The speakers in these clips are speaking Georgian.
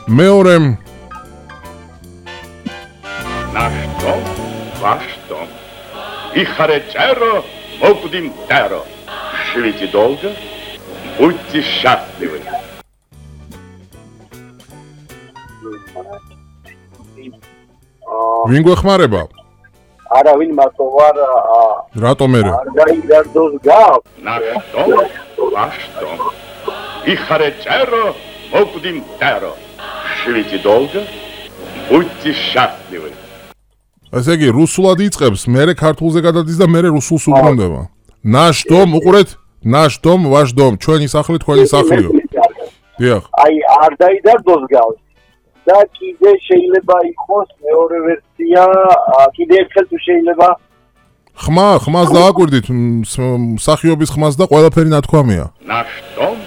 მეორე Nashtom, vashtom. Ихаре წერо, мокдим теро. Живите долго, будьте счастливы. ვინ გვეხმარება? არავინ მათო ვარ რატომ მერე? არ გაიგარდოს გავს Nashtom, vashtom. Ихаре წერо, мокдим теро. Живите долго, будьте счастливы. ესე იგი, რუსულად იწყებს, მერე ქართულზე გადადის და მერე რუსულს უბრუნდება. ნაშტომ, უყურეთ? ნაშტომ, ვაშტომ, ჩვენი სახლი, თქვენი სახლიო. დიახ. აი არ დაიდარდოს გავს და კიდე შეიძლება იყოს მეორე ვერსია კიდე ერთხელ თუ შეიძლება ხმას დააკვირდით, მსახიობის ხმას და ყველაფერი ნათქვამია. Nashtom,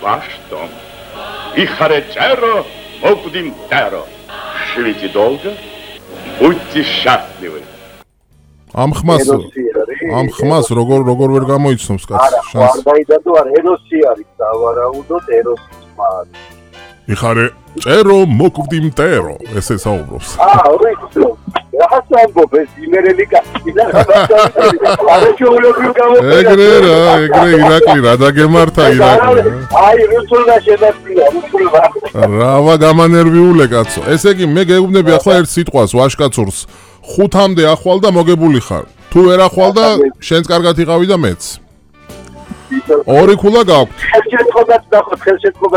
vashtom. Ихаре წერо, мокдим теро. Живите долго, будьте счастливы. ამ ხმას როგორ ვერ გამოიცნობს კაცს არა შანსი. არ დაიდარდო არ ეროსი არის დავარაუდოთ ეროსის ხმა იხარე წერო მოკვდი მტერო ესე საუბრობს. ვიცი რაღაც ამბობ ეს იმერელი კაცი და არა შეულებრივ გამოფენა ეგრე ირაკლი რა დაგემართა ირაკლი. აი რუსულმა შედაფრია რუსულმა რავა გამანერვიულე კაცო. ესე იგი მე გეუბნები ახლა ერთ სიტყვას ვაშკაცურს 5-მდე ახვალ და მოგებული ხარ. თუ ვერ ახვალ და შენც კარგად იყავი და მეც. ორი ქულა გაქვს.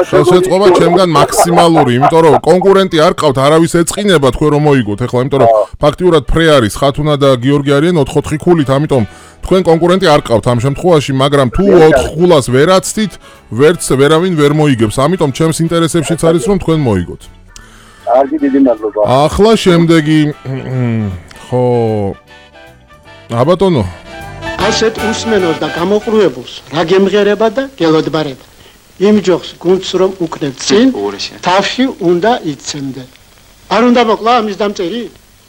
ხელშეწყობა ჩემგან მაქსიმალური, იმიტომ რომ კონკურენტი არ ყავთ, არავის ეწყინება თქვენ რომ მოიგოთ. ეხლა იმიტომ რომ ფაქტიურად ფრე არის, ხათუნა და გიორგი არიან 4-4 ქულით, ამიტომ თქვენ კონკურენტი არ ყავთ ამ შემთხვევაში, მაგრამ თუ 4 ქულას ვერ აცდით, ვერც ვერავინ ვერ მოიგებს. ამიტომ ჩემს ინტერესებშიც არის რომ თქვენ მოიგოთ. კარგი დიდი მადლობა. ახლა შემდეგი ხო აბატონო ასეთ უსმენოს და გამოყრუებულს რა გემღერება და გელოდბარება. იმ ჯოხს გუნდს რომ უკნებ წინ, თავში უნდა იცემდე. არ უნდა მოკლა ამის დამწერი?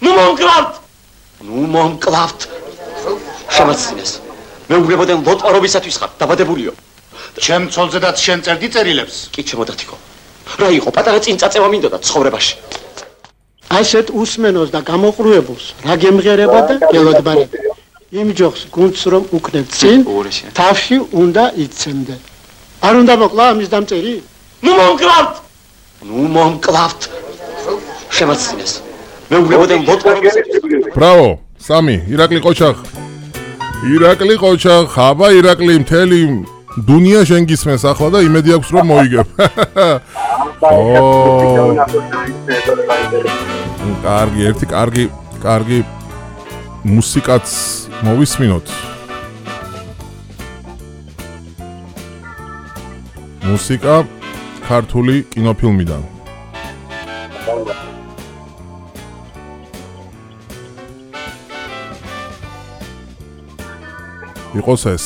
ნუ მომკლავთ. შემაცინეს. მე უგრებოდენ ლოტარობისათვის ხარ, დაბადებულიო. ჩემ ცოლზედაც შენ წერდი წერილებს? კი ჩემოდათიკო. რა იყო, პატარა წინწაწევა მინდოდა ცხოვრებაში. ასეთ უსმენოს და გამოყრუებულს რა გემღერება და გელოდბარება. იმ ჯოხს გუნდს რომ უკნებ წინ, თავში უნდა იცემდე. არ უნდა მოკლა ამის დამწერი? ნუ მომკლავთ. შემაცინეს. მე უგრებოდენ ლოტარობისათვის. ბრავო, სამი, ირაკლი ყოჩახ, აბა ირაკლი მთელი დუნია შენ გისმენს ახლა და იმედი აქვს რომ მოიგებ. კარგი, ერთი კარგი მუსიკაც მოვისმინოთ. მუსიკა ქართული კინოფილმიდან. იყოს ეს